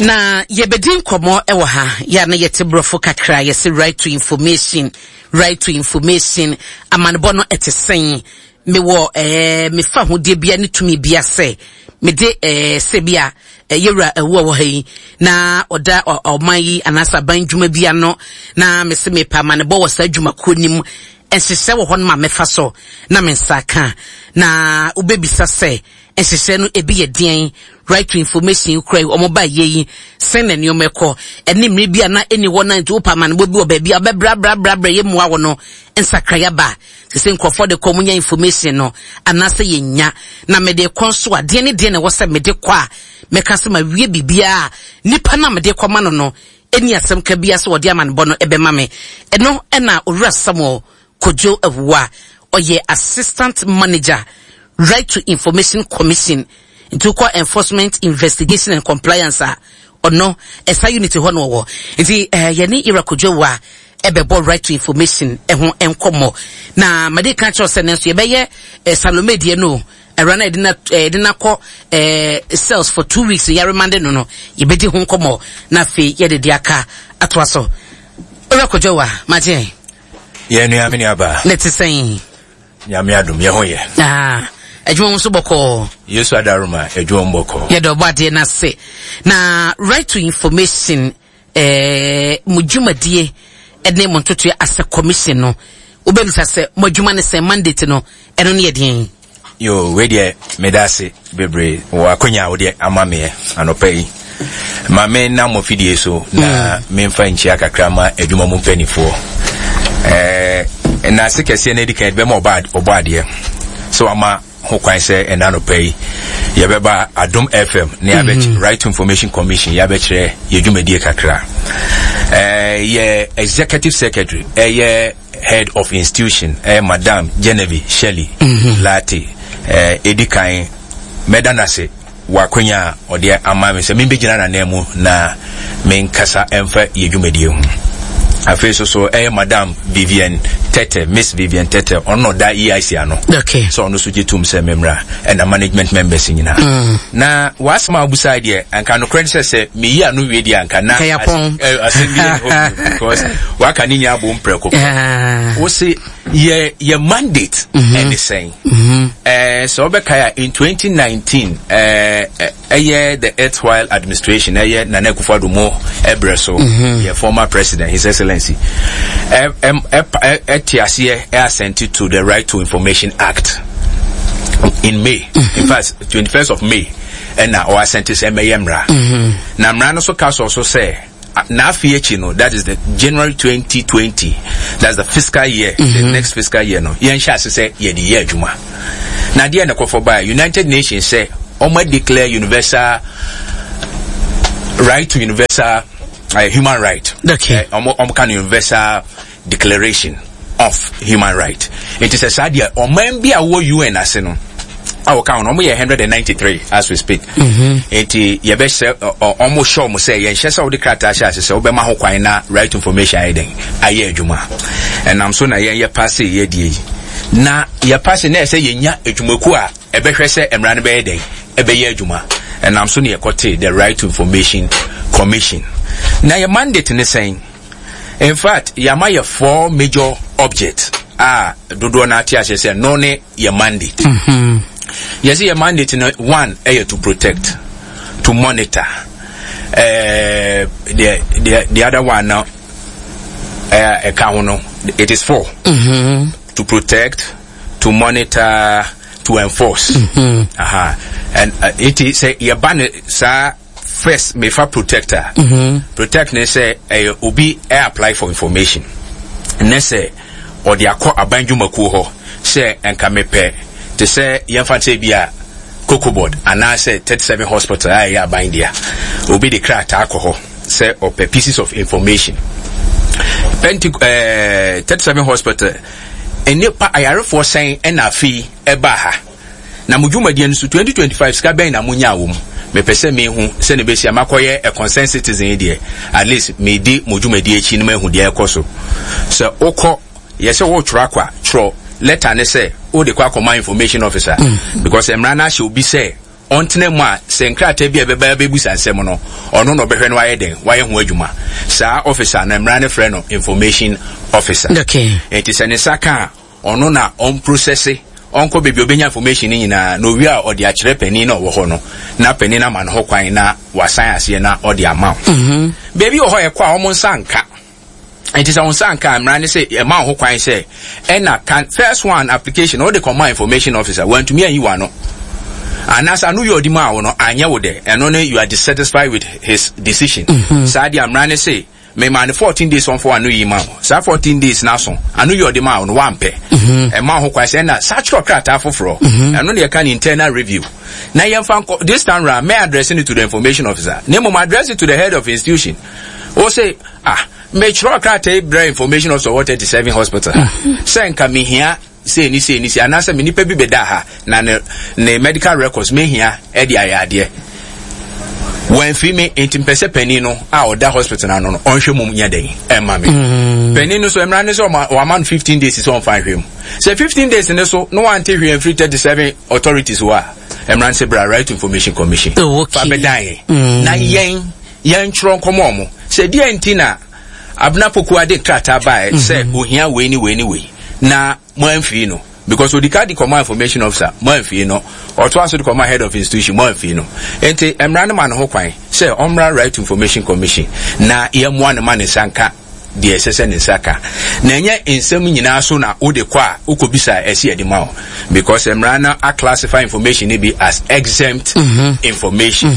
Na yɛbɛdi nkɔmmɔ wɔ ha yɛ a na yɛte borɔfo kakra yɛse right to information right to information amanebɔ no ɛte sɛn mewɔ ɛɛ mefa ahodeɛ bia ne tumi bia sɛ mede ɛɛ sɛ bi a yɛwura ɛwo a wɔ ha yi na ɔda ɔman yi anaasɛ aban dwuma bi ano na mese mepɛ amanebɔ wɔ saa dwumakuo no mu nhyehyɛ wɔ hɔ no ma mɛfa so na me nsa ka na wobɛbisa sɛ nhyehyɛ no ebi yɛ deɛn right to information kura yi wɔn ba yɛ yi sɛn na nneɛma ɛkɔ ɛne mmiri bi a na ɛni hɔ na nti wopɛ amanebɔ bi wɔ baabi a wobɛbrabrabrabra yɛ mua wɔ no nsakraeɛ ba sɛ nkurɔfoɔ de kɔ wɔn nya information no anaasɛ yɛnya na mede kɔ nso a deɛ ne deɛ na ɛwɔ sɛ mede kɔ a mɛka sɛ ma wie biribiara nipa na mede kɔ ma no no ɛni asɛm ka biara sɛ wɔde amanebɔ no ɛbɛma me ɛno ɛna owura Samuel Kojo Awuah ɔyɛ assistant manager right to information commission nti wokɔ enforcement investigation and compliance a ɔno ɛsa unit hɔ na ɔwɔ nti eh, yɛne Ira Kojo Awuah ɛbɛbɔ right to information ɛho nkɔmmɔ na made ka kyerɛ sɛ nanso yɛbɛyɛ eh, Salome deɛ no awura no yɛde na yɛde na kɔ eh, cells for 2 weeks yɛremande no yɛbɛdi ho nkɔmmɔ na afei yɛde de aka atoa so. Owura Kojo Awuah, magye. Yɛn nua, me nua baa. Ne te sɛn? Nyame adom, yɛ ho yɛ. Ah, adwuma mu nso bɔkɔɔ. Yesu adaroma, adwuma mu bɔkɔɔ. Yɛde ɔbɔ adeɛ no ase. Na right to information, eh, mo dwumadie ne mo ntotoɛ asɛ commission no, wobɛbisa sɛ mo adwuma ne sɛn, mandate no, ɛno ne yɛ deɛn? Yo, wei deɛ meda ase bebree wɔ akonya a wode ama meɛ anɔpa yi. Ma me nam mo fidie so na memfa nkyia kakra ma adwuma mu mpanimfoɔ. Ɛɛ nnaase kɛseɛ no adi kan bɛma ɔbɔ adeɛ sɛ wama ho kwan sɛ ɛna anɔpa yi yɛbɛba Adom FM ne yɛabɛkyerɛ Right to Information Commission yɛabɛkyerɛ yɛ dwumadie kakra. Ɛɛ yɛ executive secretary ɛyɛ head of institution ɛyɛ Madam Genevieve Shirley Lartey ɛdi kan mɛda no ase wɔ akwanya a ɔde ama me sɛ membɛgyina n'anan mu na menkasa ɛmfa yɛ dwumadie ho. Afei so so ɛyɛ Madam Vivian Tete, Miss Vivian Tete, ɔno na ɔda EIC ano. Sɛ ɔno so gye tom sɛ memmra ɛna management members nyinaa. Na w'asɛm a wobusae deɛ anka nokorɛ ne sɛ sɛ meyi ano wie deɛ anka na asɛm bi yɛ hɔ because waka ne nyinaa bom prɛko pɛ. Wo se yɛ yɛ mandate ɛne sɛn? Sɛ wobɛkae a in 2019 ɛyɛ the erstwhile administration ɛyɛ Nana Akufo-Addo mo ɛbrɛ so yɛ former president His Excellency ɛte aseɛ ɛ assent to the Right to Information Act in May. In fact, 21st of May ɛna ɔ assent sɛ ɛmɛyɛ mmara. Na mmara no so ka sɔ so sɛ n'afe akyi no, that is the January 2020, that's the fiscal year, the next fiscal year no, yɛnhyɛ ase sɛ yɛde yɛ adwuma. Na adeɛ na ɛkɔfɔ baa United Nations sɛ ɔma declare universal right to universal human right. Ɔmo ka no universal declaration of human right. Nti sɛ saa deɛ ɔman bi a wɔ UN ase no a wɔka ho no, ɔmo yɛ 193 as we speak. Nti yɛbɛhyɛ ɔmo hyɛ ɔmo sɛ yɛnhyɛ sɛ wode krataa hyɛ ase sɛ wobɛma ho kwan na right to information ayɛ dɛn ayɛ adwuma. Ɛnam so na yɛn yɛ paase yɛ die yi. Na yɛ paase na ɛsɛ yɛnya adwumakuo a ɛbɛhwɛ sɛ mmara no bɛyɛ dɛn ɛbɛyɛ adwuma. Ɛnam so na yɛkɔte the Right to Information Commission. Na yɛ mandate ne sɛn? In fact, yɛama yɛ four major objects a dodoɔ no ate aseɛ sɛ no ne yɛ mandate. Yɛsɛ yɛ mandate no one ɛyɛ to protect, to monitor. The other one now ɛka ho no, it is four. To protect, to monitor, to enforce. Aha. And it is sɛ yɛba ne saa first mefa protector. Protect ne sɛ ɛyɛ obi ɛ apply for information ne sɛ ɔde akɔ aban dwumakuo hɔ sɛ nka mepɛ te sɛ yɛmfa sɛ bi a Cocoa Board anaasɛ 37 Hospital a ɛyɛ aban dea, obi de krataa kɔ hɔ sɛ ɔpɛ pieces of information. Penti 37 Hospital nnipa ayarefoɔ sɛn ɛna afei ɛbaa ha, na mo dwumadie no so 2025 sika bɛn na monyaa wɔ mu? Mepɛ sɛ mehu sɛ ne bɛsi a makɔyɛ a concerned citizen yi deɛ, at least medi mo dwumadie akyi na mahu deɛ ɛkɔ so. Sɛ wokɔ yɛ sɛ wotwerɛ akɔ a, twerɛ letter ne sɛ wode kɔ akɔma information officer because mmara no ahyɛ obi sɛ ɔntena mu a sɛ nkrataa bi a ɛbɛba abɛbusa nsɛm no, ɔno na ɔbɛhwɛ na wayɛ dɛn? Wayɛ ho adwuma. Saa officer no, mmara no frɛ no information officer. Okay. Nti sɛ ne nsa ka a, ɔno na ɔmprosɛse, ɔnkɔ baabi a ɔbɛnya information no nyinaa, na owie a ɔde akyerɛ panin na ɔwɔ hɔ no, na panin no ama no ho kwan na wasan aseɛ na ɔde ama wo. Baabi wɔ hɔ a ɛkɔ a wɔn nsa nka. Nti sɛ wo nsa nka a, mmara ne sɛ ɛma wo ho kwan sɛ ɛna kan first one application wode kɔma information officer wantumi anyi w'ano anaasɛ ano yɛ ɔde maa wo no anyɛ wo dɛ, ɛno ne you are dissatisfied with his decision. Saa deɛ mmara ne se mema no 14 days ɔmfa w'ano yi ma wo. Saa 14 days no aso, ano yɛ ɔde maa wo no wampɛ, ɛma wo ho kwan sɛ ɛna saa kyerɛ krataa foforɔ. Ɛno ne yɛka ne internal review na yɛmfa nkɔ. This time round may address it to the information officer na mmom address it to the head of institution. Wo se, ah, metwerɛ krataa yi brɛ information officer wɔ 37 hospital ha sɛ nka mehia sei ne sei ne sei, anaasɛ me nipa bi bɛda ha na ne medical records mehia de ayɛ adeɛ, wɔamfiri me, nti mpɛ sɛ panin no a ɔda hospital no ano no ɔnhwɛ mu nyɛ dɛn ɛma me. Panin no so mmara ne sɛ wama no 15 days sɛ ɔmfa nhwɛ mu. Sɛ 15 days ne so na wante hwee amfiri 37 authorities hɔ a, mmara no sɛ bra Right to Information Commission. Oh, okay. Fa bɛdan yɛn na yɛn yɛntwerɛ nkɔmɔ ɔmo sɛ deɛ nti na Abena Pokuah de krataa baeɛ sɛ ohia wei ne wei ne wei na mo amfii no, because odika de kɔma information officer mo amfii no, ɔtoa so de kɔma head of institution mo amfii no. Nti mmara no ma no ho kwan sɛ ɔmmra Right to Information Commission na yɛmmoa no ma ne nsa nka deɛ ɛsɛ sɛ ne nsa ka. Na ɛnyɛ nsɛm nyinaa so na wode kɔ a wokɔbisa a ɛsɛ yɛde ma wo, because mmara no aclassify information no bi as exempt information.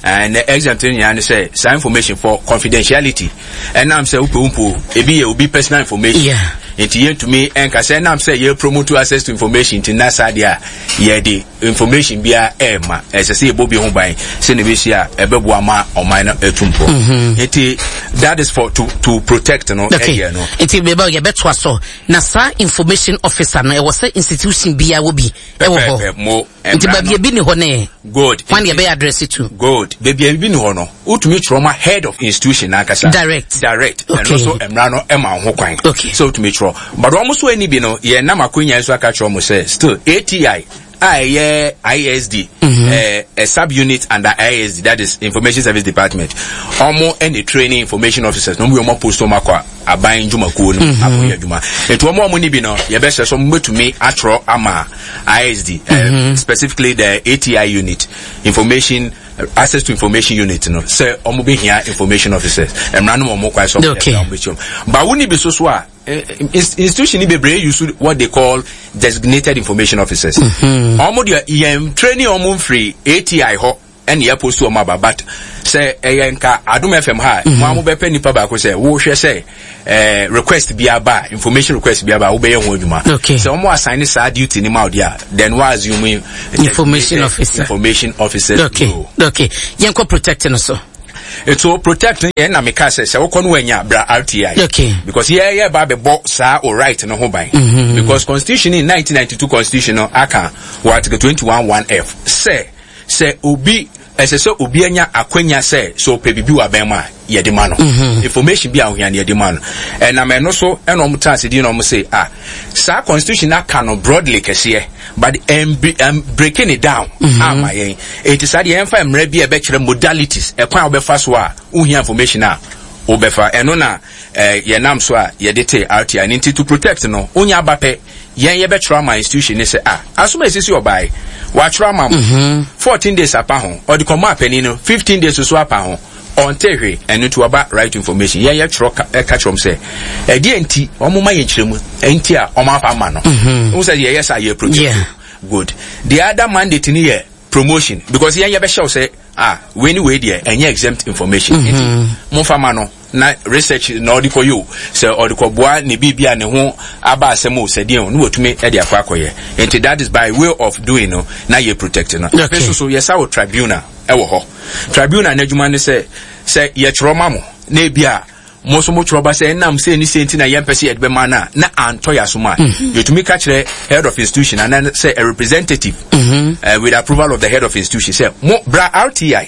And the exempt no nyinaa ne sɛ saa information for confidentiality, ɛnam sɛ wopɛ wo mpo ebi yɛ obi personal information. Nti yɛntumi ɛnka sɛ ɛnam sɛ yɛ promote access to information nti na saa deɛ a yɛde information biara ɛɛma, ɛsɛ sɛ yɛbɔ bi ho ban sɛ na ɛbɛsi a ɛbɛboa ma ɔman no atu mpɔ. Nti that is for to protect no. Ɛdeɛ no. Nti bɛbɛ yɛbɛtoa so na saa information officer no ɛwɔ sɛ institution biara wɔ bi ɛwɔ hɔ. Pɛpɛɛpɛ, mo Nti mmara baabi no. ebi ni hɔ ne Good. Hwan yɛbɛyɛ address to? Good. Baabi a ebi ni hɔ no, wotumi twerɛ ma head of institution n'ankasa. Direct. Direct. Okay. Ɛno nso mmara no ɛma wo ho kwan. Okay. Sɛ wotumi twerɛ. But wɔn nso ani bi no, yɛn nam akonya nso aka kyerɛ wɔn sɛ still ATI a ɛyɛ ISD, a sub unit under ISD, that is Information Service Department. Wɔn ɛna training information officers na wɔn yɛ wɔn post wɔn akɔ aban dwumakuo no akɔyɛ adwuma. Nti wɔn a wɔn ni bi no, yɛbɛhyɛ so wɔn bɛtumi atwerɛ ama ISD, specifically the ATI unit, Information Access to Information Unit no, sɛ wɔn bɛhia information officers. Mmara no wɔn kwan so wɔn yɛ wɔn bɛkyɛm. Ba wo ni bi so so a, institution ni bebree use what they call designated information officers. Wɔn deɛ yɛn training wɔn mfiri ATI hɔ ɛna yɛ post wɔn aba, but sɛ ɛyɛ nka Adom FM ha, mo a mo bɛpɛ nipa baako sɛ wohwɛ sɛ request bi aba, information request bi aba, wobɛyɛ ho adwuma. Sɛ wɔn assign saa duty ni ma o deɛ, then wa assume information officer. Information officer. Okay. Okay. Yɛn kɔ protect no so. So protect no yɛn na meka sɛ sɛ wokɔ no wanya bra RTI. Because yɛ yɛ ba bɛbɔ saa o right no ho ban. Because constitution in 1992 constitution no aka wɔ article 21 1 F sɛ sɛ obi ɛsɛ sɛ obi anya akwanya sɛ sɛ ɔpɛ biribi wɔ abɛn mu a yɛde ma no. Information bi a ohia no yɛde ma no. Ɛnam ɛno so ɛna wɔn tena ase di na wɔn se ah saa constitution aka no broadly kɛseɛ, but ɛm breaking it down ama yɛn. Eti saa deɛ yɛmfa mmerɛ bi a ɛbɛkyerɛ modalities, ɛkwan a wɔbɛfa so a wohia information a wobɛfa. Ɛno na yɛnam so a yɛde te RTI ne nti to protect no, wonya aba pɛ, yɛn yɛbɛtwerɛ ama institution ne sɛ ah asom a esisi ɔbaae watwerɛ ama mo 14 days apa ho, ɔde kɔmɔ apanin no 15 days so apa ho, ɔnte hwee, ɛno nti waba right to information. Yɛn yɛtwerɛ ɛka kyerɛ wɔn sɛ ɛdeɛ nti wɔn ma yɛn kyerɛ mu nti a wɔn afa ama no. Wɔn sɛ yɛyɛ saa yɛ protect. Good. The other mandate ni yɛ promotion, because yɛn yɛbɛhyɛ wo sɛ ah wei ni wei deɛ ɛnyɛ exempt information. Nti momfa ma no na research na ɔde kɔyɛ o, sɛ ɔde kɔboa ne biribi a ne ho aba asɛm o, sɛ deɛ o, ne watumi de akɔ akɔyɛ. Nti that is by way of doing no na yɛ protect no. Afei nso so yɛsa wɔ tribunal ɛwɔ hɔ. Tribunal n'adwuma ne sɛ sɛ yɛtwerɛ ma mo na ebi a mo nso motwerɛ ba sɛ ɛnam sɛ ne sɛ nti na yɛmpɛ sɛ yɛde bɛma no a na antɔ yɛ asom a, yɛtumi ka kyerɛ head of institution anaa sɛ a representative with approval of the head of institution sɛ mo bra RTI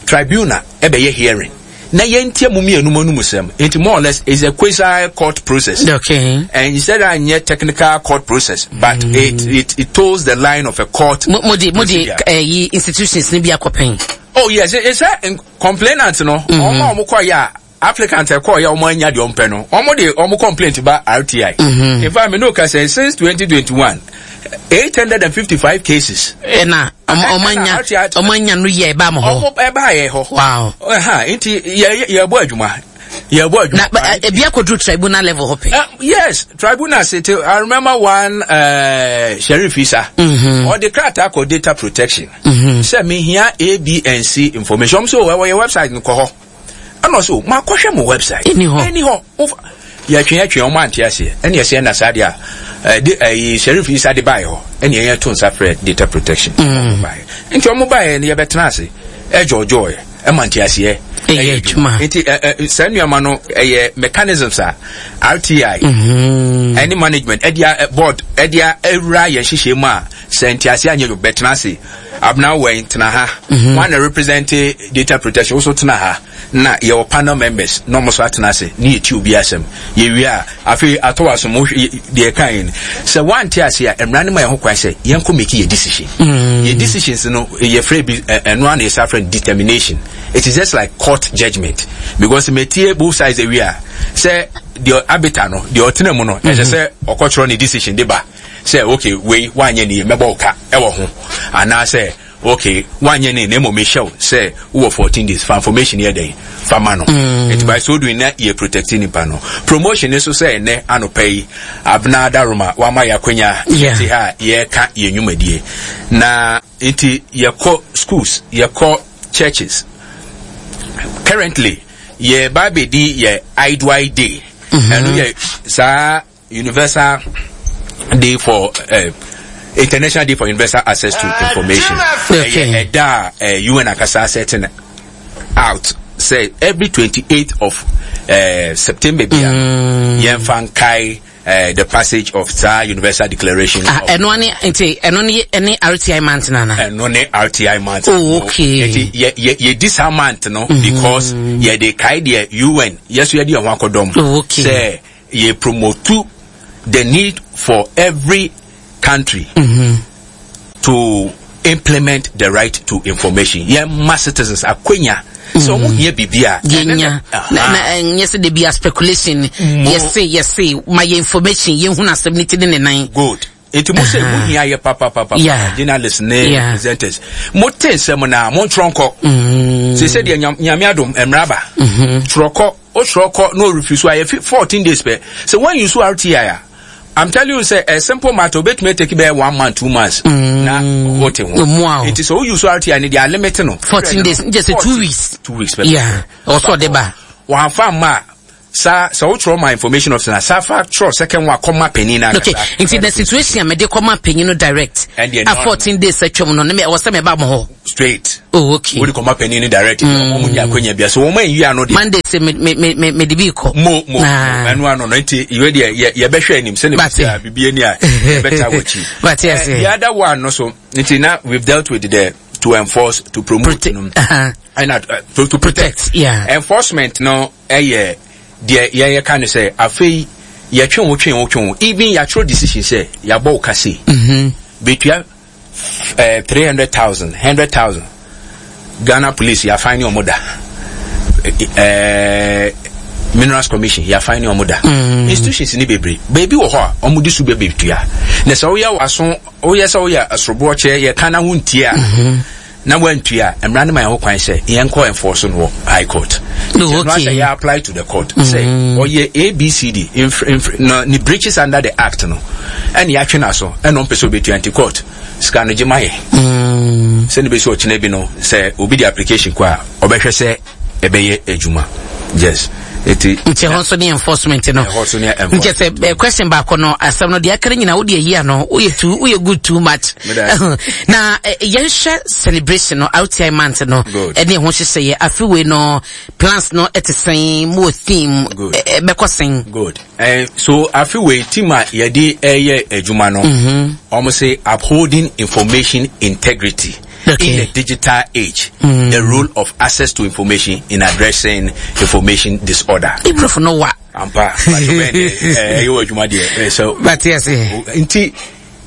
tribunal ɛbɛyɛ hearing. na yɛntie mo mmienu mo anum sɛm. Nti more or less is a quasi court process. And instead anyɛ technical court process, but it toes the line of a court. Mo de mo de ɛyi institutions ni bi akɔpɛn. Oh yes, it's a complainant no. Ɔmo a ɔmo kɔ yɛ a, applicant ɛkɔ yɛ, ɔmo anya deɛ ɔmo pɛ no, ɔmo de ɔmo complaint ba RTI. In fact, me no ka sɛ since 2021, 855 cases. Ɛna ɔmo anya ɔmo anya no yɛ ɛba mo hɔ. Ɔmo ɛba yɛ hɔ. Ɛha nti yɛ yɛ bɔ adwuma, yɛ bɔ adwuma. Na ebi akɔduru tribunal level hɔ pɛ. Yes, tribunal se te. I remember one Sheriff Isa. Ɔde krataa kɔ data protection. Sɛ mehia A, B and C information. Ɔmo sɛ ɛwɔ yɛ website no, kɔ hɔ. Ɛna ɔsɛ o, makɔhwɛ mo website. Ɛni hɔ. Ɛni hɔ. Yɛtwe yɛtwe, ɔmo ante aseɛ. Ɛna yɛsɛ ɛna saa deɛ a ɛde ɛyi Sheriff Isa de baeɛ hɔ. Ɛna yɛn to nsa frɛ data protection. Ɔmo baeɛ. Nti ɔmo baeɛ no, yɛbɛtena ase ɛjɔjɔɛ ɛma nte aseɛ. Ɛyɛ adwuma. Nti ɛ ɛ saa nneɛma no ɛyɛ mechanisms a RTI ɛne management ɛde a board ɛde a ɛwura yɛn hyehyɛ mu a, sɛ nte aseɛ anyɛ yɛ, bɛtena ase. Abena wɛn tena ha. Wɔn na represent data protection woso tena ha, na yɛwɔ panel members na wɔn nso atena ase ne yɛti obi asɛm. Yɛwie a, afei atɔ wɔ asom deɛ ɛka yɛn sɛ wɔante ase a, mmara no ma yɛn ho kwan sɛ yɛnkɔ make yɛ decision. Yɛ decisions no, yɛfrɛ bi ɛno ara na yɛsa frɛ no determination. It is just like court judgement because metie both sides awie a, sɛ deɛ arbiter no deɛ ɔtena mu no ɛsɛ sɛ ɔkɔtwerɛ ne decision de ba sɛ okay, wei wanyɛ ne yie, mɛbɔ wo ka ɛwɔ ho, anaasɛ okay, wanyɛ ne na mmom mehyɛ wo sɛ wowɔ 14 days fa information yɛ dɛn fa ma no. Nti by so doing na yɛ protect nipa no. Promotion nso sɛ ɛnɛ anɔpa yi Abena Daroma wama yɛ akwanya te ha a yɛreka yɛn nnwumadie na nti yɛkɔ schools, yɛkɔ churches. Currently yɛba abɛdi yɛ IDY day. Ɛno yɛ saa Universal Day for International Day for Universal Access to Information. Ɛyɛ ɛda a UN akasa setting out sɛ every 28th of September bia yɛmfa nkae the passage of saa Universal Declaration. Ah, ɛno ne nti ɛno ne ɛne RTI month nana. Ɛno ne RTI month. Oh, okay. Nti yɛ yɛ yɛdi saa month no because yɛde kae deɛ UN yɛso yɛde yɛn ho akɔdɔm. Sɛ yɛ promote the need for every country to implement the right to information. Yɛn ma citizens akwanya sɛ ɔmo hia biribi a yɛnya na ɛnyɛ sɛ de bi a speculation, yɛse yɛse ma yɛ information, yɛhunu asɛm ne ti ne ne nan. Good. Nti mo sɛ mo hia yɛ papapapa, journalists ne presenters, mo te nsɛm na mo ntwerɛ nkɔ. Sɛ sɛ deɛ Nyame adom mmara ba, twerɛ kɔ, o twerɛ kɔ na ɔrefi so a, yɛ 14 days pɛ. Sɛ wɔn use RTI a, I'm telling you sɛ a simple matter obetumi take bɛyɛ one month, 2 months na o te ho. Nti sɛ o use RTI ne deɛ, a limit no. 14 days n jɛ sɛ 2 weeks. 2 weeks pɛ. Yeah, ɔsɔ de ba. Wɔn afa mma a, saa sɛ wotwerɛ ma information officer na saa fa twerɛ second one kɔma panyin na. Okay, nti the situation a mede kɔma panyin no direct a, 14 days atwam no, ne me ɛwɔ sɛ meba mo hɔ. Straight. Oh, okay. Wode kɔma panyin no direct. Wɔn mu nya akonya bia so wɔn ayi ano deɛ. Monday sɛ me me me me mede bi kɔ. Mo ɛno ano no, nti iwe deɛ yɛ yɛbɛhwɛ anim sɛ ne bi a bibi ani a yɛbɛta wɔ akyi. Bate ase. The other one no so, nti na we've dealt with the to enforce, to promote no ɛna to protect. Enforcement no ɛyɛ deɛ yɛyɛ ka no sɛ afei yɛtwe wo, twe wo, twe wo, even yɛatwerɛ decision sɛ yɛabɔ wo kase bɛtua 300,000, 100,000. Ghana Police yɛafan ne ɔmo da, Minerals Commission yɛafan ne ɔmo da. Institutions ne bebree baabi wɔ hɔ a ɔmo de so bɛbɛtua, na sɛ woyɛ waso, woyɛ sɛ woyɛ asoroboɔ kyerɛ yɛka na wontie a, na wantua a, mmara no ma yɛn ho kwan sɛ yɛnkɔ enforce no wɔ high court. No, okay. Ɛno asɛ yɛ apply to the court sɛ ɔyɛ ABCD na ne breaches under the act no, ɛne yɛatwe no aso, ɛna ɔmpɛ sɛ ɔbɛtua, nti court sika no gye ma yɛ. Sɛne bɛsi ɔkyena bi no, sɛ obi de application kɔ a, ɔbɛhwɛ sɛ ɛbɛyɛ adwuma. Yes. Eti nti ɛhɔ nso ne enforcement no. Ɛhɔ nso ne enforcement. Nkyɛ sɛ question baako no, asɛm no deɛ aka no nyinaa wode ayi ano, woyɛ too, woyɛ good too much. Na yɛnhwɛ celebration no, RTI month no ɛne ɛho hyehyɛeɛ afe wei no, plans no ɛte sɛn? Mo wɔ theme? Ɛbɛkɔ sɛn? Good. So afe wei team a yɛde ɛyɛ adwuma no, wɔn sɛ upholding information integrity. In the digital age, the role of access to information in addressing information disorder. Ibrofo no wa. Ampa, ɛyɛ wɔ adwuma deɛ. So, Bate ase. Nti,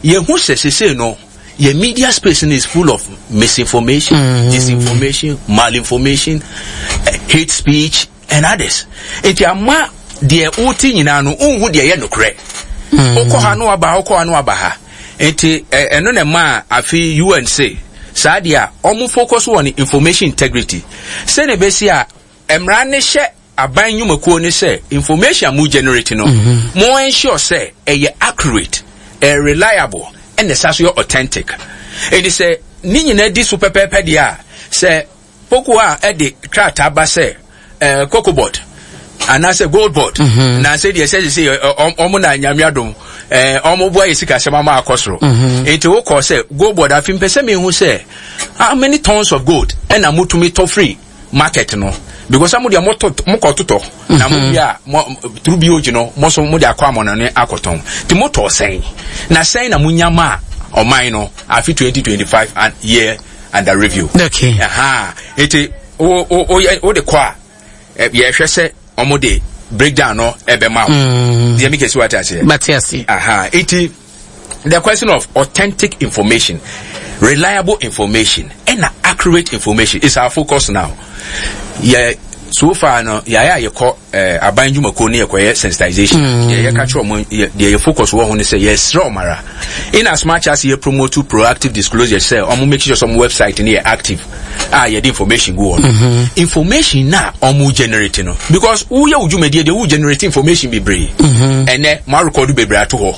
yɛhu sɛ sesei no, yɛ media space no is full of misinformation, disinformation, malinformation, hate speech, and others. Nti ama deɛ wote nyinaa no, wonhu deɛ ɛyɛ nokorɛ. Wokɔ ha no waba ha, wokɔ ha no waba ha. Nti ɛno na ɛmaa afe UN se saa deɛ a wɔn focus wɔ information integrity. Sɛnea ɛbɛsi a mmara ne hyɛ aban nnwumakuo ne sɛ information a mo generate no, mo ensure sɛ ɛyɛ accurate, ɛyɛ reliable, ɛna ɛsa so yɛ authentic. Nti sɛ ne nyinaa di so pɛpɛɛpɛ deɛ a, sɛ Poku a ɛde krataa ba sɛ cocoa board anaasɛ gold board na sɛ deɛ sɛ sɛ ɔmo na nyame adom ɔmo boa yɛ sikasɛm ama akɔ soro. Nti wokɔ sɛ gold board afi mpɛ sɛ mehu sɛ how many tons of gold ɛna motumi tɔ free market no, because mo deɛ mokɔ totɔ na mo wie a mo through BOG no mo so mo de akɔ amɔnɔne akɔtɔn, nti motɔ sɛn na sɛn na monya ma ɔman no afi 2025 and year under review. Okay. Aha. Nti wo wo wo wo de kɔ a, yɛhwɛ sɛ ɔmo de breakdown no ɛbɛma wo. Deɛ mi kɛse wate aseɛ. Mate ase. Aha. Nti the question of authentic information, reliable information, and accurate information is our focus now. Yeah, so far no yɛayɛ a yɛkɔ aban dwumakuo no yɛkɔyɛ sensitization. Deɛ yɛka kyerɛ ɔmo, deɛ yɛ focus wɔ ho ne sɛ yɛsrɛ ɔmo ara, in as much as yɛ promote proactive disclosure sɛ ɔmo make sure sɛ ɔmo website no yɛ active a yɛde information gu hɔ no, information na ɔmo generate no, because woyɛ wo dwumadie deɛ, wo generate information bebree. Ɛnɛ mo arekɔdo bebree ato hɔ,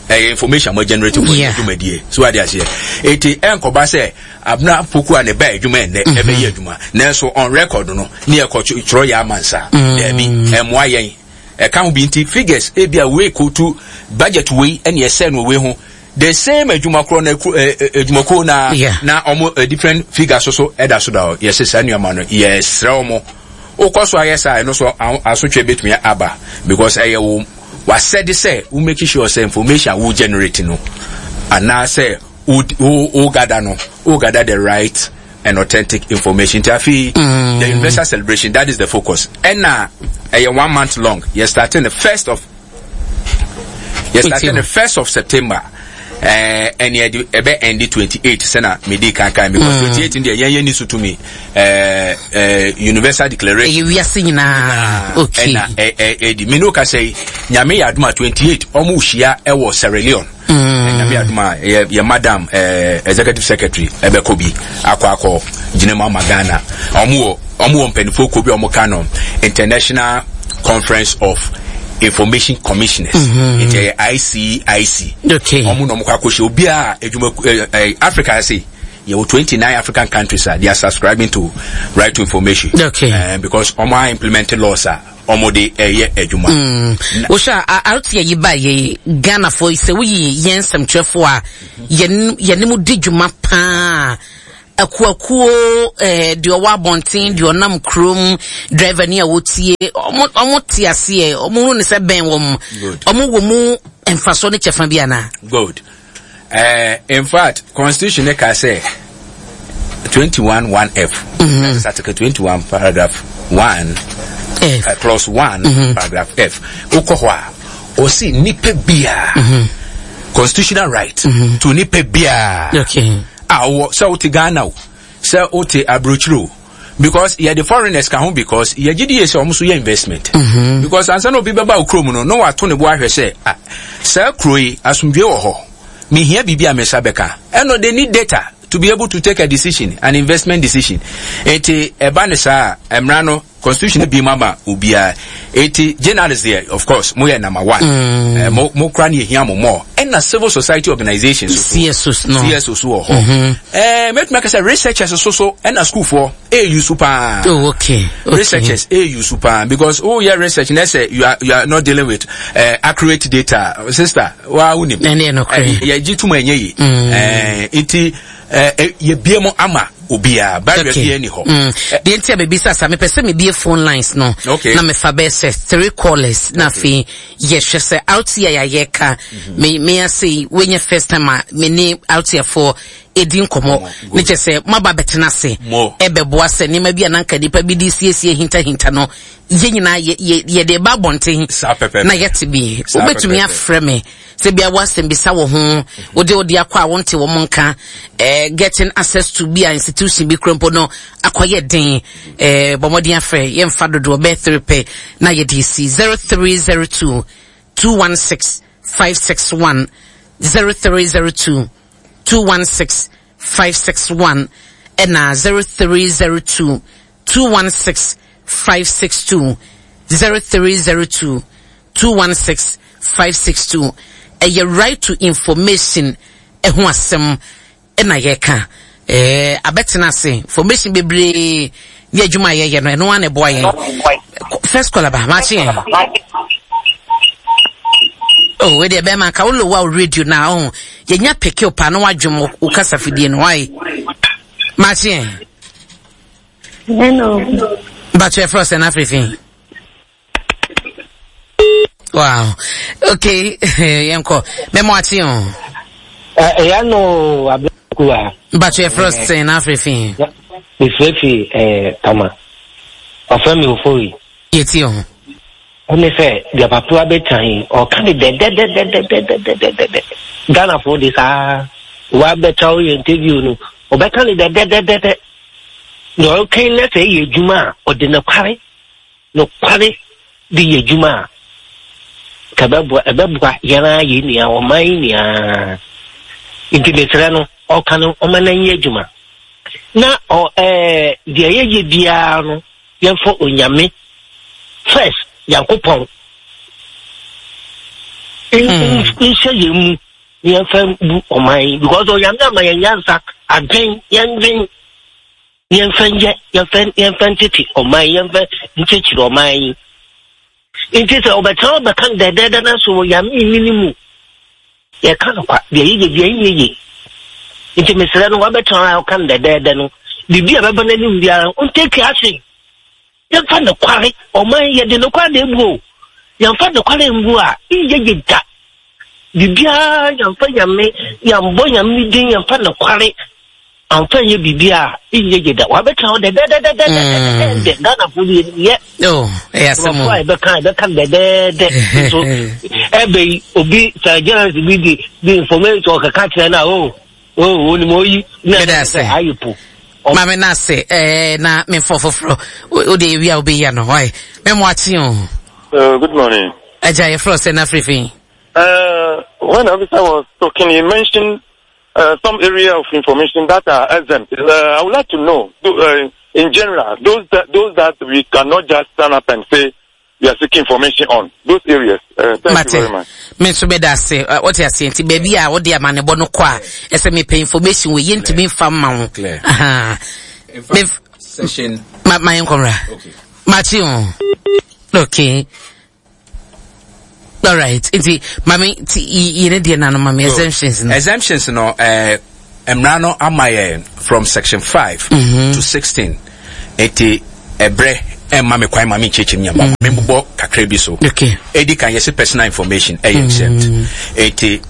ɛyɛ information mo generate for dwumadie so ade aseɛ. Eti ɛnkɔba sɛ Abena Poku a ne ba adwuma ɛnɛ ɛbɛyɛ adwuma nanso on record no ne yɛkɔ twerɛ yɛ ama nsa. Daabi, ɛmmoa yɛn. Ɛka ho bi nti figures ebi a wei kotu budget wei ɛne ɛsɛ no wei ho, the same adwuma korɔ na adwumakuo na na ɔmo different figures so so ɛda so da hɔ. Yɛsɛ saa nneɛma no, yɛsrɛ ɔmo, wokɔ so ayɛ saa, ɛno so asotwe betumi aba, because ɛyɛ wo wasɛde sɛ wo make sure sɛ information a wo generate no anaasɛ wo wo wo gather no, wo gather the right and authentic information. Nti afei the universal celebration, that is the focus. Ɛna ɛyɛ one month long. Yɛ starting the first of yɛ starting the 1st of September, ɛne ɛde ɛbɛ ɛndi 28, sɛna medi kankan, because 28 deɛ yɛn yɛ ni so tumi ɛɛ ɛɛ universal declaration. Ɛyɛ wiase nyinaa, okay. Ɛna ɛ ɛ ɛdi mi n'o ka sɛ yi, Nyame yɛ adum a, 28 ɔmo hyia ɛwɔ Sierra Leone. Nyame adum a, yɛ madam executive secretary ɛbɛkɔ bi akɔ gyina mu ama Ghana. Ɔmo wɔ mpanyinfoɔ kuo bi a ɔmo ka no International Conference of Information Commissioners. Nti ɛyɛ ICIC. Ɔmo na ɔmo kɔ akɔhyia obiara adwuma ɛ ɛ Africa ase. Yɛwɔ 29 African countries a they are subscribing to right to information. Because ɔmo a implement laws a ɔmo de ɛyɛ adwuma. Wohwɛ a RTA yi ba yɛ Ghanafoɔ yi, sɛ woyi yɛn nsɛmtwerɛfoɔ a yɛne mu di dwuma paa, akuakuo, deɛ ɔwɔ abɔnten, deɛ ɔnam kurom, driver ni a wɔtie, ɔmo te aseɛ, ɔmo hu ne sɛ bɛn wɔn, ɔmo wɔ mu mfasoɔ ne kyɛfa bi anaa? Good. In fact, constitution ne ka sɛ 21 1 F. That is article 21 paragraph 1 F. Clause 1 paragraph F. Wokɔ hɔ a, ɔsi nipa biara constitutional right to nipa biara a ɔwɔ sɛ wote Ghana o, sɛ wote aburokyire o, because yɛde foreigners ka ho, because yɛgye di yɛ sɛ ɔmo so yɛ investment. Because ansa na obi bɛba wo kurom no, na wato ne bo ahwɛ sɛ, ah, saa kuro yi asomdwe wɔ hɔ, mehia biribi a me nsa bɛka. Ɛno they need data to be able to take a decision, an investment decision. Eti ɛba ne saa a, mmara no, constitution bi mu ama obiara. Eti journalists deɛ, of course mo yɛ number one. Mo kura ne ehia mo more. Ɛna civil society organizations so CSOs no. CSOs wɔ hɔ. Mɛtumi aka sɛ researchers so ɛna schoolfoɔ ɛyɛ so paa. Researchers ɛyɛ so paa, because oh yeah, research na sɛ you are not dealing with accurate data, sister, wa wunim. Ɛne ɛno korɛ. Yɛgye tum ɛnyɛ yi. Nti yɛbie mu ama obiara barrier okay. biara ni hɔ. Deɛ nti a mebisa sa mepɛ sɛ mebie phone lines no okay. na mefa bɛyɛ sɛ three callers na afei yɛhwɛ sɛ RTI a yɛka mhm. me me ase yi wonya first time a me ne RTI foɔ ɛdi nkɔmmɔ ne kyɛ sɛ moaba bɛtena ase ɛbɛboa sɛ nneɛma bi a nanka nipa bi de siesie hintahinta no yɛn nyinaa yɛde ba abɔnten na yɛte bi wobɛtumi afrɛ me sɛ bia woasɛm bisa wɔ ho wode wode akɔ a wonte wɔn nka eh, getting access to bi a institution bi kura mpo no akɔyɛ den eh, bɔ mmɔden afrɛ yɛmfa dodoɔ bɛyɛ three pɛ na yɛde si 0302 216 561 0302 216 561 ɛna 0302 216 562 0302 216 562 ɛyɛ right to information ɛho asɛm ɛna yɛka ɛɛ abɛtena ase information bebree ne adwuma a yɛyɛ no ɛno ara na ɛboa yɛn first call aba maakye yɛn oh wei deɛ bɛrima nka wo lowa wo radio na ɔho yɛnya peke wo paa na wadwom wo kasa fidie no wae maakye yɛn Hello. Mpatsɔ ɛfrɛ ɔsɛ n'afiri fi. Wow. Okay. Yɛnkɔ. Mɛmɔ akye o. Ɛyà no abirikuwa. Mpatsɔ ɛfrɛ ɔsɛ n'afiri fi. Mefrɛ fi ɛɛ Tama. Ɔfrɛ mi Ofori. Yɛtie o. Ɛne sɛ deɛ papa abɛtan yi ɔka ne dɛdɛdɛdɛdɛdɛdɛdɛ. Ghanafoɔ de saa wabɛta woyɛ interview no ɔbɛka ne dɛdɛdɛdɛdɛ. Nea ɔreka yi na sɛ ɛyɛ adwuma a, ɔde nokware nokware de yɛ adwuma a, nka ɛbɛboa ɛbɛboa yɛn ara yɛn nyinaa, ɔman yi nyinaa. Nti mesrɛ no, ɔka no ɔma no nyɛ adwuma. Na ɔ ɛɛ deɛ yɛyɛ biara no, yɛmfa Onyame first, Nyankopɔn nhyɛ yɛn mu. Ne yɛmfa bu ɔman yi because onyame ama yɛn nyansa adwen yɛndwen yɛmfa nyɛ yɛmfa yɛmfa ntete ɔman yi yɛmfa nkyekyere ɔman yi nti sɛ ɔbɛtena ɔbɛka no dɛdɛɛdɛ no so onyame nni ne mu yɛka no kwa deɛ yɛyɛ deɛ nyɛ ye nti mesrɛ no wabɛtena a ɔka no dɛdɛɛdɛ no biribi a bɛba n'anim biara ɔntake action. Yɛmfa nokware, ɔman yi yɛde nokware na ebu o. Yɛmfa nokware mbu a, nyɛ yie da. Biribiara yɛmfa Nyame, yɛmbɔ Nyame ne din, yɛmfa nokware amfa nyɛ biribi a, nyɛ yie da. Wabɛtena hɔ dɛdɛdɛdɛdɛdɛdɛ, Ghanafoɔ de yɛnim yɛ. Oh, ɛyɛ asɛm o. Nkurɔfoɔ a yɛbɛka yɛbɛka no dɛdɛɛdɛ. Nso ɛbɛ yi, obi sɛ journalist bi di di information ɔkeka kyerɛ no a, oh, Oh, onim oyi. Meda ase. Ayi po. Maame na ase eh, na memfɔ foforɔ o de ewi a wobɛyi ano hɔ mɛmo akye o. Good morning. Agya yɛfrɛ sɛ na afirifi. When the officer was talking, he mentioned some area of information that are exempt. I would like to know, in general, those that, those that we cannot just stand up and say we are seeking information on those areas. Thank Mate. you very much. Me nso bɛda ase wote aseɛ nti baabi a wode amanebɔ no kɔ a ɛsɛ mepɛ information wɔ yɛntumi mfa mma wo ma yɛnkɔmmra makye o okay all right nti mame ti yɛne deɛ nano mame exemptions no exemptions no eh, mmara no ama yɛ from section 5 mm -hmm. to 16 nti ɛbrɛ ɛmma me kwan ma me nkyerɛkyerɛ mu nyama mm. membobɔ kakra bi so okay. ɛdi kan yɛse personal information ɛyɛ exempt mm. nti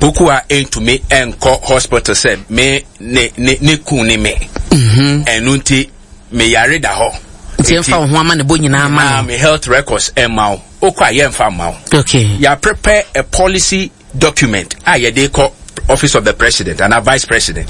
poku a ɛntumi ɛnkɔ hospital sɛ me ne ne ne kun ne me mm-hmm. ɛno nti meyare da hɔ nti ɛmfa wo ho ama ne bɔ nyinaa ma no me health records ɛma wo wokɔ a yɛmfa mma wo okay. yɛ prepare a policy document a yɛde kɔ office of the president anaa vice president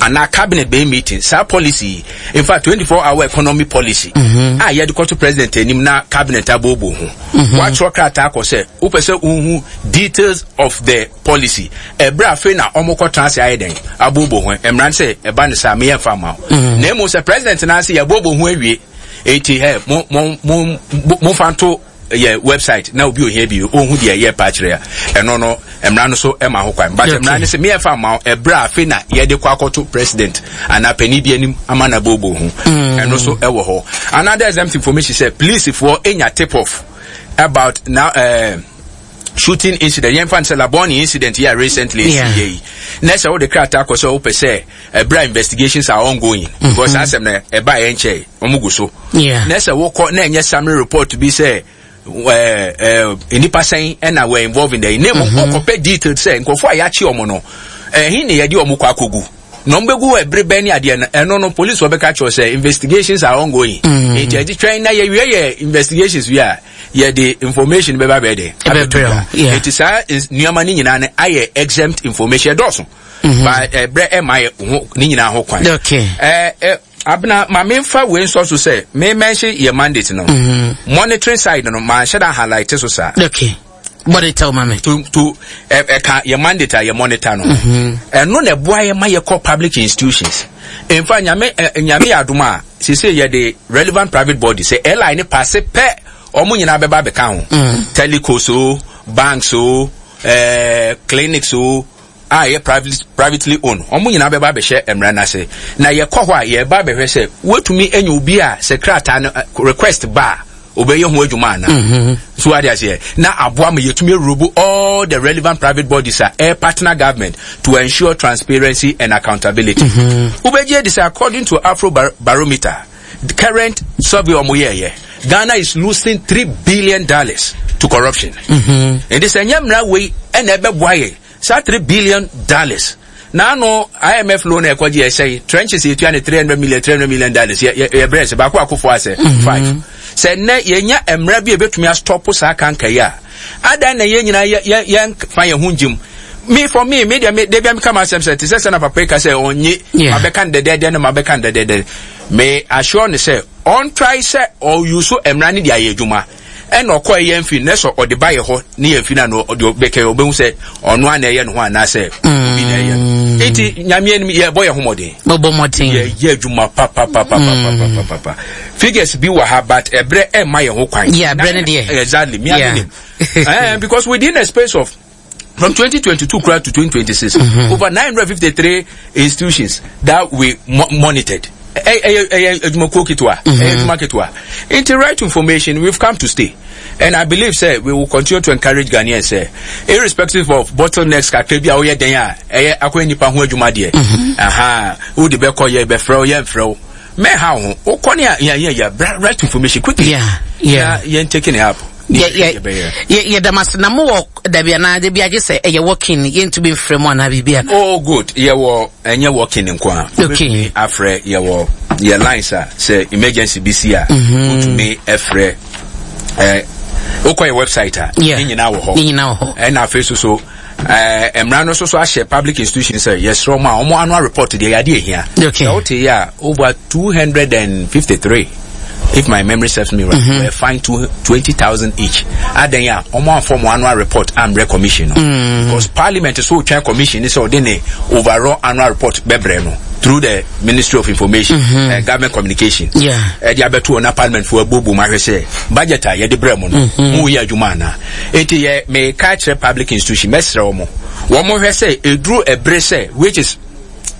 anaa cabinet bɛyɛ meeting saa policy yi in fact 24 hour economy policy mm -hmm. a yɛde kɔto president anim na cabinet abobo ho mm -hmm. watwerɛ krataa kɔ sɛ wopɛ sɛ wohu details of the policy ɛberɛ afei na ɔmokɔtena ase ayɛ dɛn abobo ho mmara no sɛ ɛba no saa meyɛ mfa ma wo mm -hmm. na mmom sɛ president no ase yɛbobo ho awie eti ɛ mo mo mo momfa nto yɛ website na obi ohia bi ohu deɛ yɛ pa kyerɛ a ɛno no mmara no so ɛma ho kwan but mmara no sɛ meyɛ fa ma ɛbrɛ a afei na yɛde kɔ akɔto president anaa panin bi anim ama na bobo ho mm. ɛno so ɛwɔ hɔ another exempt information sɛ policefoɔ enya tip off about now. shooting incident yɛmfa no sɛ Labone incident yi a recently ɛsi yɛ yi na sɛ wode krataa kɔ sɛ wopɛ sɛ ɛberɛ a investigations are ongoing mm-hmm. because saa asɛm no ɛba yɛ nkyɛe wɔn gu so na sɛ wokɔ na ɛnyɛ summary report bi sɛ nnipa sɛn ɛna were involved in the na mmom mm-hmm. wokɔpɛ detail sɛ nkurɔfoɔ a yɛakye wɔn no ɛhe ne yɛde wɔn kɔ akɔgu na wɔn bɛgu ɛbere bɛn ne adeɛ no ɛno no police wɔbɛka kyerɛ sɛ investigations are ongoing mm. nti ɛgye twɛn na yɛwie yɛ investigations wie a yɛde information bɛba bɛyɛ dɛ abɛto dwa nti saa nneɛma no nyinaa no ayɛ exempt information ɛdɔɔso mm-hmm. ba ɛbrɛ ɛma yɛ ho ne nyinaa ho kwan ɛɛ ɛ abena maame nfa wei nsɔ so sɛ me mɛnhye yɛ mandate no mm-hmm. monitoring side no maa nhyɛ da highlight so saa. Okay. Monitor ma me. To ɛka yɛ mandate a yɛ monitor no. Mm-hmm. Ɛno na ɛboa yɛ ma yɛkɔ public institutions. In fact, nyame nyame yɛ adom a sese yɛ de relevant private body sɛ airline ne paase pɛ wɔn nyinaa bɛba abɛka ho. Mm. Telecos o, banks o, ɛɛ clinics o a ɛyɛ private privately owned wɔn nyinaa bɛba abɛhyɛ mmara no ase na yɛkɔ hɔ a yɛba abɛhwɛ sɛ wɔatumi anya obi a sɛ krataa no request ba a obɛyɛ ho adwuma ana mm-hmm. so ade aseɛ na aboa ma yɛtumi arobo all the relevant private bodies a ɛyɛ partner government to ensure transparency and accountability mm-hmm. wobɛgye adi sɛ according to afro barometer the current survey ɔmo yɛɛyɛ ghana is losing $3 billion to corruption mm-hmm. nti sɛ nyɛ mmara wei ɛna ɛbɛboa yɛ saa $3 billion n'ano IMF loan ɛkɔgye ɛsɛ trenches etua ne 300 million $300 million yɛ yɛ yɛ brɛ sɛ baako akofo asɛ mm-hmm. five sɛ nnɛ yɛnya mmara bi a ebetumi astɔpo saa kanka yi a adan na yɛn nyinaa yɛ yɛ yɛn fa yɛn ho ngyim me for me me deɛ me deɛ bi a mi ka ma asɛm sɛ te sɛ sɛ na papa yi ka sɛ ɔnye ma bɛka no dɛdɛɛdɛ no ma bɛka no dɛdɛɛdɛ me assure ne sɛ ɔntrae sɛ ɔyuso mmara ne de ayɛ adwuma ɛna ɔkɔ ɛyɛ mfi na sɛ ɔde ba yɛ hɔ ne yɛ mfi na no ɔde bɛkɛ ɔbɛhu sɛ ɔno a na ɛyɛ ne ho anaasɛ obi na ɛyɛ no nti nyame anim yɛbɔ yɛ ho mmɔden bɔbɔ mmɔden yɛyɛ adwuma papapapapapapapa figures bi wɔ ha but ɛbrɛ ɛmma yɛn ho kwan yeah ɛbrɛ no deɛ exactly me yeah. nim eh, because within a space of from 2022 to 2026 mm-hmm. over 953 institutions that we mo monitored ɛyɛ adwumakuo ketewa ɛyɛ adwuma ketewa nti right information, we've come to stay and I believe say we will continue to encourage Ghanaians say irrespective of bottlenecks kakra bi a woyɛ den a ɛyɛ akɔyɛ nipa ho adwuma deɛ aha wode bɛkɔ yɛ bɛfrɛ wo yɛ mfrɛ wo mɛha wo ho wokɔ ne a yɛ yɛ right information quickly yeah. Na yɛn taking it up. Yɛda mo ase na mowɔ dabi anaa dabi agye sɛ ɛyɛ walking yɛntumi mfrɛ mu anaa biribi ana? Oh good, yɛwɔ ɛnyɛ walking nko a wobɛtumi afrɛ yɛwɔ yɛ lines a sɛ emergency bi si a mhm. wotumi ɛfrɛ ɛ wokɔ yɛ website a ne nyinaa wɔ hɔ ne nyinaa wɔ hɔ ɛna afei so so ɛɛ mmara no nso so ahyɛ public institution sɛ yɛsrɛ wɔn a wɔn annual report deɛ yɛade ehia sɛ wote yɛ a over 253 if my memory serves me right mm -hmm. were fined to 20,000 each adan a wɔn anfɔ wɔn annual report ambrɛ commission no mm. because parliament so twɛn commission ne sɛ ɔde ne overall annual report bɛbrɛ no through the ministry of information mm -hmm. government communication ɛde abɛto wɔn na parliament fo abuobuo mu ahwɛ sɛ budget a yɛde brɛ mu no mm-hmm. mo yɛ adwuma anaa eti yɛ meka kyerɛ public institution mɛsrɛ wɔn wɔn hwɛ sɛ eduru ɛbere sɛ which is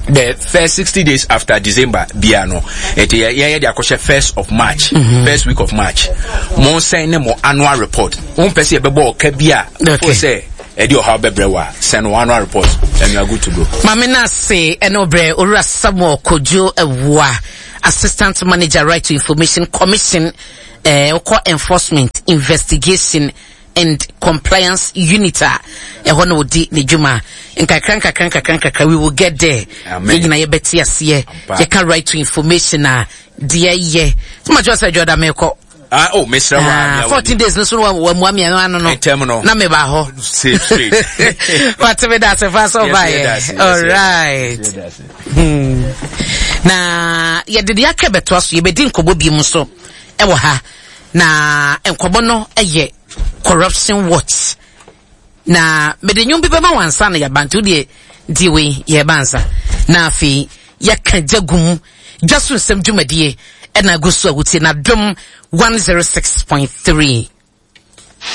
the first 60 days after December bia no nti yɛ yɛ de akɔhyɛ first of March mm -hmm. first week of March mo sɛn ne mo annual report wɔn pɛ sɛ yɛbɛbɔ ɔka bi a fo sɛ ɛde ɔhaw bɛbrɛ wa sɛn no annual report and you are good to go. Maame Nase ɛne ɔbrɛ Owura Samuel Kojo Awua, Assistant Manager Right to Information Commission ɛɛ eh, ɔkɔ Enforcement Investigation and Compliance Unit a ɛhɔ na ɔdi ne dwuma nkakra nkakra nkakra nkakra we will get there yɛn nyinaa yɛbɛte aseɛ yɛka right to information a deɛ yɛ sɛ ma kyerɛ sɛ adwoda mekɔ Ah, oh, mesrɛ wa. Ah, 14 days no so wa wa mua mi ano no. Ntɛm no. Na me ba hɔ. Safe straight. Wate me da se fa so ba yɛ. All right. Hmm. Na yɛde deɛ aka bɛtoa so yɛbɛdi nkɔmmɔ bi mu so ɛwɔ ha na nkɔmmɔ no yɛ corruption watch na mede nnwom bi bɛma wansa na yɛaba nti wodeɛ die wei yɛba ansa na afei yɛka gya gu mu dwa so nsɛm dwumadie ɛna agu so a wotie na dom 106.3.